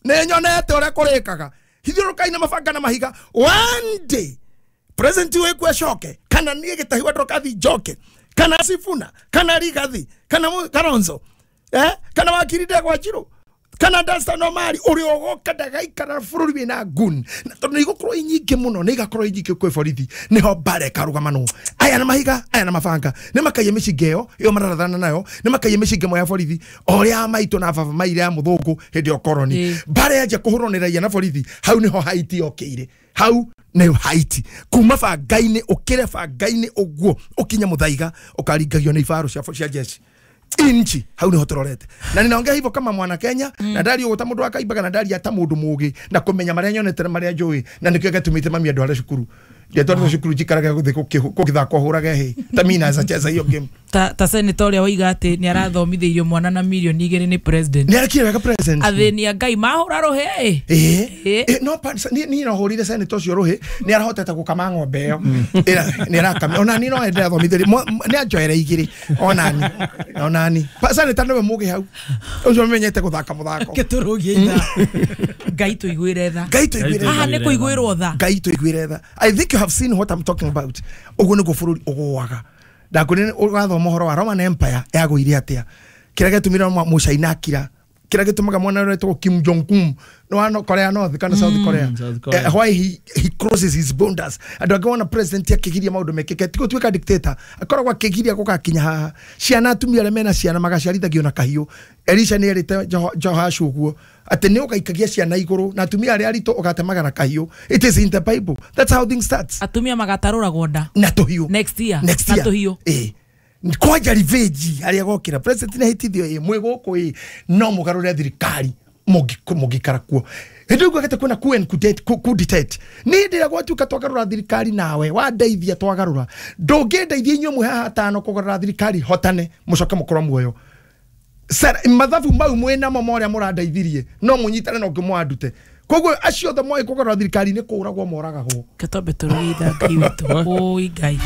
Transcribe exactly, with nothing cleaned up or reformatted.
Nĩ nyonete ũrĩa kũrĩkaga. Hithiũrũrũkai na mabanga na mahiga. One day president wekũ acoke kana niĩ Gĩtahi wa Ndorokathi njoke kana Sifuna kana Rigathi kana Kalonzo eh kana wakiri Ndegwa Njiru kana Danstan Omari ũrĩa ũgoka ndagaikara bũrũri wĩna gun na tondũ nĩ igũkorwo inyingĩ mũno nĩ igakorwo inyingĩ kwĩ borithi nĩho mbara ĩkarũgamanwo aya na mahiga aya na mabanga nĩ makaiye mĩcinga ĩyo ĩyo mararathana nayo nĩ makaiye mĩcinga ĩmwe ya borithi o ũrĩa maitũ na baba maire ya mũthũngũ hĩndĩ ya ũkoroni mbara yanjia kũhũrwo nĩ raia na borithi hau nĩho Haiti yokĩire hau nĩ Haiti kuma bangainĩ ũkĩre bangainĩ ũguo ũkinye mũthaiga ũkaringagio nĩ ibarũ cia cia jeshi inchi hau niho turorete na ninaongea hivyo kama mwana Kenya mm. na ndari uguta mundu akaimbaga na ndari ata mundu mugi na kumenya maria nyonete na maria njui na nikio gatumite mami andu aria cukuru ndiatwarwo cukuru njikaraga guthi gukithakwo hurage hi ta mina za cheza hiyo game ta ta senator uria waiga ati ni arathomithĩirio mwana na milioni igĩrĩ ni president ni arekire wega president athĩni a Ngai mahũra rũhĩ eh no ni ni no hũrire senator ũcio rũhĩ ni arahotete gũkama ng'ombe ĩyo ni arakama ona ni no ende athomithĩrie ni anjoere igĩrĩ ona ni ona ni senator niwe mũgĩ hau ũcio menyete gũthaka mũthako gĩtũrũgie itha Ngai tũiguĩre tha Ngai tũiguĩre tha haha nĩ kũiguĩrwo tha Ngai tũiguĩre tha. I think you have seen what I'm talking about. Ũguo nĩguo bũrũri ũgũaga ndakwĩrire ũgathoma ũhoro wa Roman Empire yagũire atĩa kĩrĩa gĩtũmire Mũcaina akira kĩrĩa gĩtũmaga mwana ũrĩa wetagwo Kim Jong Un no Korea North kana South Korea uh, why he, he crosses his borders andũ angĩ wona president akĩgiria maũndũ mekĩke ti gũtuĩka dictator akoragwo akĩgiria gũgakinya haha ciana atumia arĩa mena ciana magaciarithagio na kahiũ Elisha nĩ erĩte Jehoashu ũguo atĩ nĩ ũgaikagia ciana igũrũ na atumia arĩa aritũ ũgatemaga na kahiũ. It is in the Bible. That's how things starts. Atumia magatarũragwo nda na tũhiũ next year next year na tũhiũ eh kwanja revenge arĩa gokĩra president nĩ ahĩtithio ĩ mwĩ gũkũ ĩ no mũgarũre thirikari mũngĩikara kuo hĩndĩ ĩyo gete kwĩna coup and coup d'etat nĩ hĩndĩ ĩrĩa gwatuĩka twagarũra thirikari nawe wandeithia twagarũra ndũngĩndeithia inyuĩ mwĩ haha atano kũgarũra thirikari hotane mũcoke mũkorwo muoyo mathabu mau mwĩ namo ma ũrĩa mũrandeithirie no mũnyitane no ngĩmwandute koguo acio othe moĩ kũgarũra thirikari nĩ kũragwo moragagwo Kĩtombe tũrũitha Ngai witũ ũi Ngai.